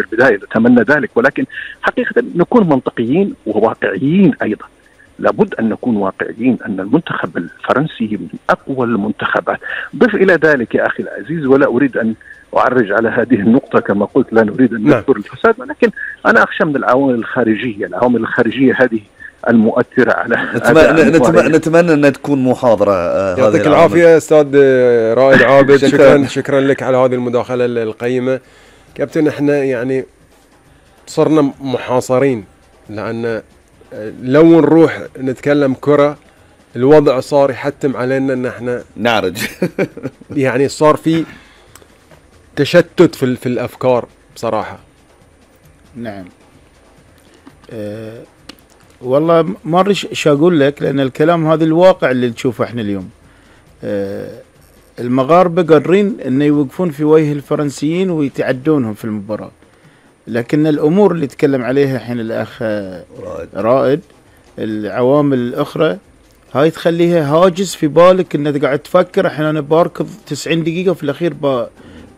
البداية نتمنى ذلك، ولكن حقيقة نكون منطقيين وواقعيين أيضا. لابد أن نكون واقعيين أن المنتخب الفرنسي من أقوى المنتخبات. ضف إلى ذلك يا أخي العزيز، ولا أريد أن أعرج على هذه النقطة كما قلت، لا نريد أن نذكر الفساد، ولكن أنا أخشى من العوامل الخارجية هذه المؤثرة على نتمنى أن تكون محاضرة. يعطيك العافية أستاذ رائد عابد. شكرا لك على هذه المداخلة القيمة. كابتن، احنا يعني صرنا محاصرين، لأن لو نروح نتكلم كرة الوضع صار يحتم علينا ان احنا نعرج. يعني صار في تشتت في الافكار بصراحة. نعم. والله ما ادري ايش اقول لك، لان الكلام هذا الواقع اللي نشوفه احنا اليوم. المغاربة قادرين ان يوقفون في وجه الفرنسيين ويتعدونهم في المباراة، لكن الامور اللي تكلم عليها الحين الاخ رائد، العوامل الاخرى هاي تخليها هاجس في بالك، انك قاعد تفكر الحين انا باركض 90 دقيقة وفي الاخير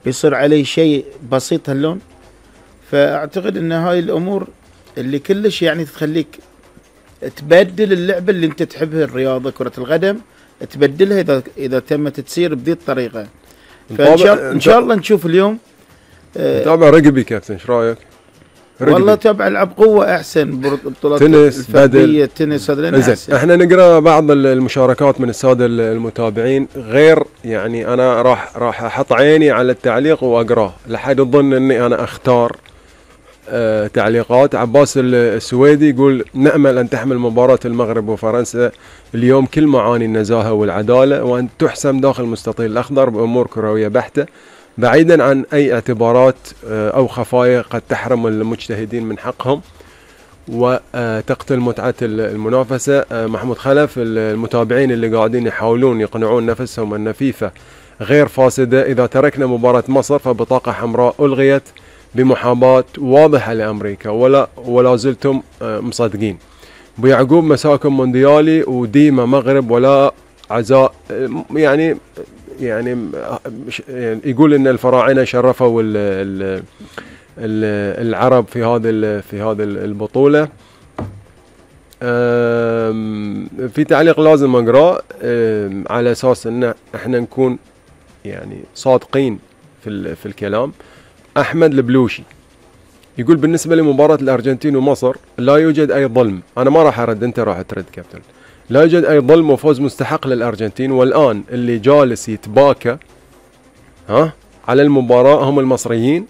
بيصير علي شيء بسيط هاللون. فاعتقد ان هاي الامور اللي كلش يعني تخليك تبدل اللعبة اللي انت تحبها، الرياضة كرة القدم، تبدلها اذا تمت تسير بذي الطريقة. فان شاء الله نشوف اليوم. تابع رقبي كابتن، ايش رايك؟ والله تابع العب قوة احسن، بطولات تنس، الفردية، التنس هذا احسن. احنا نقرا بعض المشاركات من السادة المتابعين، غير يعني انا راح احط عيني على التعليق واقراه، لحد يظن اني انا اختار تعليقات. عباس السويدي يقول: نأمل أن تحمل مباراة المغرب وفرنسا اليوم كل معاني النزاهة والعدالة، وأن تحسم داخل المستطيل الأخضر بأمور كروية بحتة، بعيدا عن أي اعتبارات أو خفايا قد تحرم المجتهدين من حقهم وتقتل متعة المنافسة. محمود خلف: المتابعين اللي قاعدين يحاولون يقنعون نفسهم أن فيفا غير فاسدة، إذا تركنا مباراة مصر فبطاقة حمراء ألغيت بمحاباة واضحة لأمريكا، ولا زلتم مصدقين. ابو يعقوب: مساكم مونديالي وديما مغرب ولا عزاء. يعني يقول ان الفراعنة شرفوا العرب في هذه البطولة. في تعليق لازم اقراه على اساس ان احنا نكون يعني صادقين في الكلام. احمد البلوشي يقول: بالنسبة لمباراة الارجنتين ومصر لا يوجد اي ظلم. انا ما راح ارد، انت راح ترد كابتن. لا يوجد اي ظلم وفوز مستحق للارجنتين، والان اللي جالس يتباكى على المباراة هم المصريين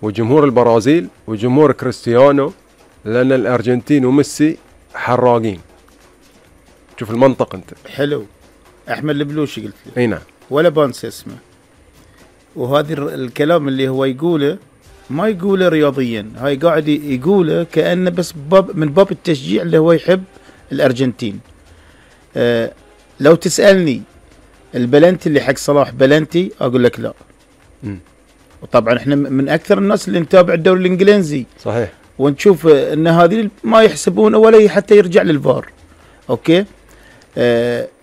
وجمهور البرازيل وجمهور كريستيانو، لان الارجنتين وميسي حراقين. شوف المنطق انت. حلو. احمد البلوشي قلت لي. اي نعم. ولا بانس اسمه. وهذا الكلام اللي هو يقوله ما يقوله رياضيا، هاي قاعد يقوله كأنه بس من باب التشجيع اللي هو يحب الأرجنتين. لو تسألني البلنتي اللي حق صلاح بلنتي أقول لك لا. وطبعا احنا من أكثر الناس اللي نتابع الدوري الإنجليزي صحيح، ونشوف ان هذه ما يحسبون ولا حتى يرجع للفار. اوكي.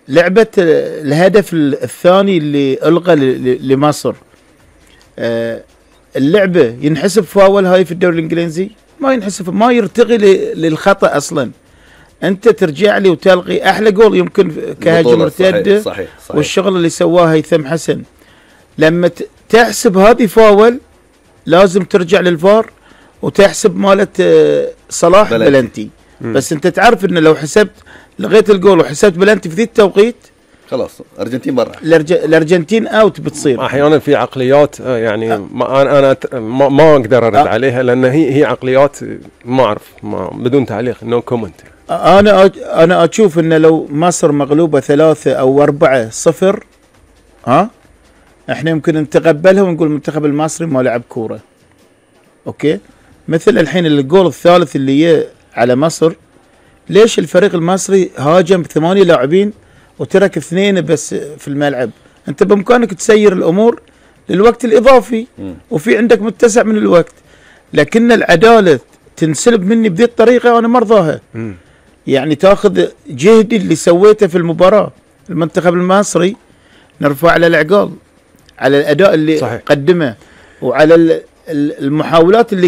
لعبة الهدف الثاني اللي ألغى لمصر، اللعبة ينحسب فاول هاي في الدوري الإنجليزي؟ ما ينحسب، ما يرتقي للخطأ أصلا. أنت ترجع لي وتلغي أحلى جول يمكن كهجمة مرتدة. صحيح. والشغل اللي سواه هيثم حسن، لما تحسب هذه فاول لازم ترجع للفار وتحسب مالت صلاح بلنتي. بس أنت تعرف إن لو حسبت لغيت الجول وحسبت بلنتي في ذي التوقيت خلاص الارجنتين برا، الارجنتين اوت بتصير. احيانا في عقليات يعني انا ما اقدر ارد عليها، لان هي عقليات ما اعرف، بدون تعليق، نو كومنت. انا اشوف ان لو مصر مغلوبه 3 أو 4-0 احنا يمكن نتقبلها ونقول المنتخب المصري ما لعب كوره. اوكي. مثل الحين الجول الثالث اللي على مصر، ليش الفريق المصري هاجم 8 لاعبين وترك 2 بس في الملعب؟ انت بامكانك تسير الامور للوقت الاضافي وفي عندك متسع من الوقت، لكن العداله تنسلب مني بذي الطريقه وانا مرضاها. يعني تاخذ جهدي اللي سويته في المباراه، المنتخب المصري نرفع على العقال على الاداء اللي صحيح. قدمه، وعلى المحاولات اللي